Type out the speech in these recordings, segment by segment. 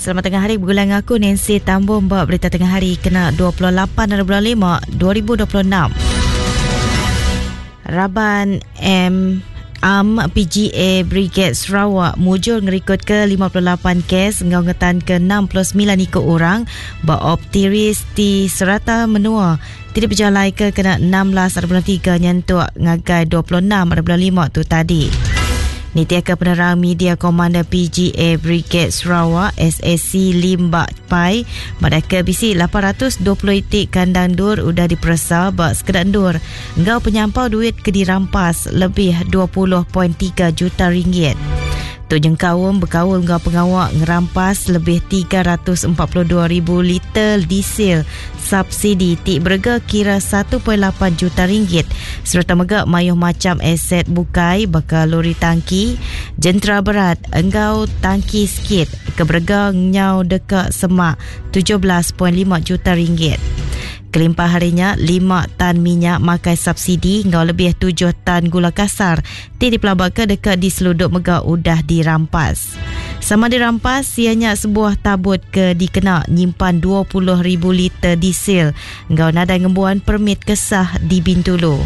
Selamat tengah hari begulai enggau aku Nancy Tambung ba berita tengah hari kena 28 hari bulan 5 2026. Raban M Am PGA Brigade Sarawak mujur ngerikod ke 58 kes enggau ngetan ke 69 iku orang ba Op Tiris di serata menua ti dipejalaika kena 16 hari bulan 3 nyentuk ngagai 26 hari bulan 5 tu tadi. Nitihka penerang media Komander PGA Brigade Sarawak SAC Lim Bak Pai madahka bisi 820 iti kandang endur udah diperesa ba sekeda endur enggau penyampau duit ke dirampas lebih 20.3 juta ringgit. Tu nyengkaum bekaul enggau pengawa ngerampas lebih 342,000 liter diesel subsidi ti berega kira 1.8 juta ringgit sereta mega mayuh macham aset bukai baka lori tangki, jentera berat enggau tangki skid ke berega nyau deka semak 17.5 juta ringgit. Kelimpah hari nya, 5 tan minyak makai subsidi enggau lebih 7 tan gula kasar ti dipelabaka deka diseludup mega udah dirampas. Sama dirampas iya nya sebuah tabut ke dikena nyimpan 20,000 liter diesel enggau nadai ngembuan permit ke sah di Bintulu.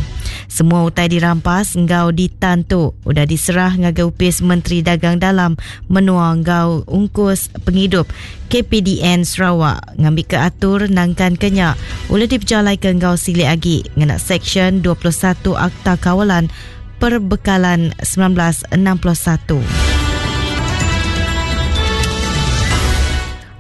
Semua utai dirampas enggau ditan tu udah diserah ngagai Opis Menteri Dagang Dalam Menua enggau Ungkus Pengidup KPDN Sarawak ngambika atur nangkanka nya ulih dipejalaika enggau silik agi ngena Seksyen 21 Akta Kawalan Perbekalan 1961.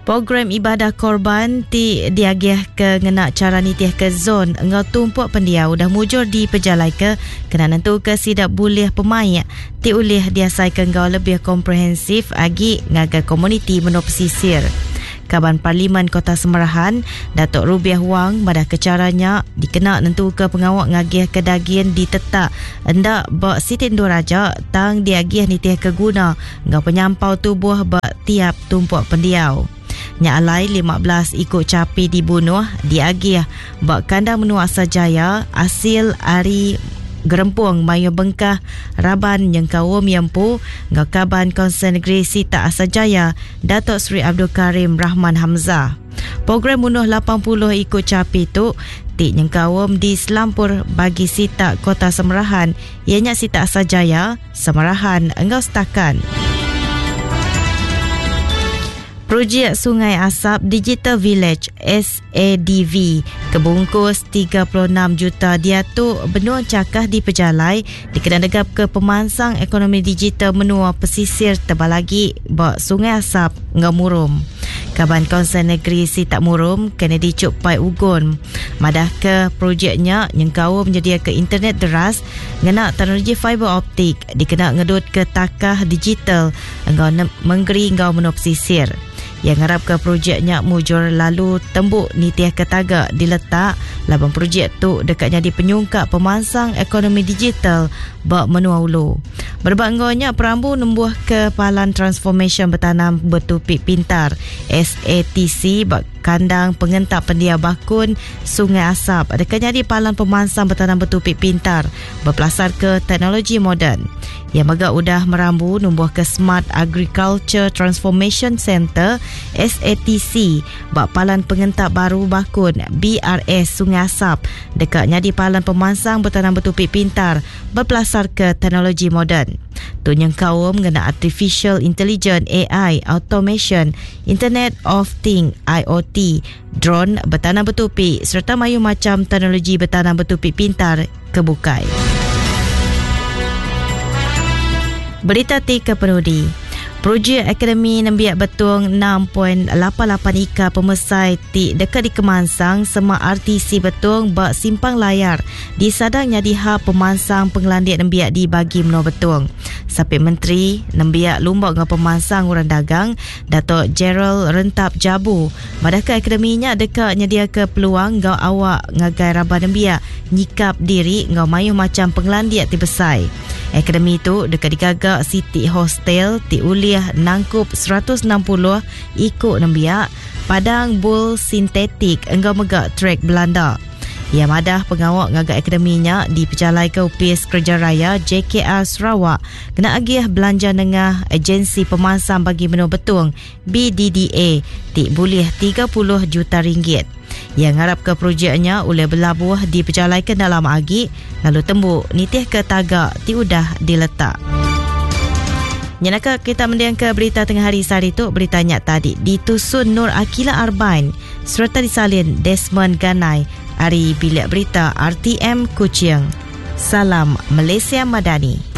Program ibadah korban ti diagihka ngena chara nitihka zon enggau tumpuk pendiau udah mujur dipejalaika kena nentuka sida bulih pemaik ti ulih diasaika enggau lebih komprehensif agi ngagai komuniti menua pesisir. Kaban Parlimen Kota Semerahan, Datuk Rubiah Wang madahka chara nya dikena nentuka pengawa ngagihka dagin ditetak enda ba siti endur aja tang diagih nitihka guna enggau penyampau tubuh ba tiap tumpuk pendiau. Nya alai 15 iku chapi dibunuh diagih ba kandang menua Asajaya asil ari gerempung mayuh bengkah raban nyengkaum iya empu enggau kaban Kaunsil Negeri Sitak Asajaya Datuk Seri Abdul Karim Rahman Hamzah. Program munuh 80 iku chapi tu ti nyengkaum di selampur bagi sitak Kota Samarahan iya nya sitak Asajaya, Samarahan enggau Stakan. Projek Sungai Asap Digital Village SADV ke bungkus 36 juta diatu benung chakah dipejalai dikena negapka pemansang ekonomi digital menua pesisir tebal agi ba Sungai Asap enggau Murum. Kaban Kaunsil Negeri Sitak Murum, Kennedy Chuk Pai Ugon madahka projek nya nyengkaum nyediaka internet deras ngena teknologi fiber optik dikena ngedutka takah digital enggau mengeri enggau menua pesisir. Iya ngarapka projek nya mujur lalu tembu nitihka taga diletak laban projek tu deka nyadi penyungkak pemansang ekonomi digital ba menua ulu. Berebak enggau nya, perambu nembuhka Palan Transformasyen Betanam Betupi Pintar, SATC, ba kandang pengentap pendiau Bakun, Sungai Asap deka nyadi palan pemansang betanam betupi pintar bepelasarka teknologi moden. Iya mega udah merambu numbuhka Smart Agriculture Transformation Centre, SATC, ba Palan Pengentap Baru Bakun, BRS, Sungai Asap deka nyadi palan pemansang betanam betupi pintar bepelasarka teknologi moden. Tu nyengkaum ngena Artificial Intelligence, AI, Automation, Internet of Things, IoT, drone betanam betupi sereta mayuh macham teknologi betanam betupi pintar ke bukai. Berita ti ke penudi. Projek Akademi Nembiak Betong 6.88 ika pemesai ti deka dikemansang semak RTC Betong ba Simpang Layar disadang nyadi hub pemansang pengelandik nembiak di bagi menua Betong. Sapit Menteri Nembiak Lumba enggau Pemansang Orang Dagang, Dato Gerald Rentap Jabu madahka akademi nya deka nyediaka peluang enggau awak ngagai raban nembiak nyikap diri enggau mayuh macham pengelandik ti besai. Akademi tu deka digaga siti hostel ti ulih nangkup 160 iku nembiak, padang bul sintetik enggau mega trek belanda. Iya madah pengawa ngaga akademi nya dipejalaika Opis Kereja Raya JKR Sarawak kena agih belanja nengah Agensi Pemansang Bagi Menua Betong, BDDA, ti bulih 30 juta ringgit. Iya ngarapka projek nya ulih belabuh dipejalaika enda lama agi lalu tembu nitihka taga ti udah diletak. Nyenaka kita mendingka berita tengah hari sehari tu, berita nya tadi ditusun Nur Akila Arbain sereta disalin Desmond Ganai ari Bilik Berita RTM Kuching. Salam Malaysia Madani.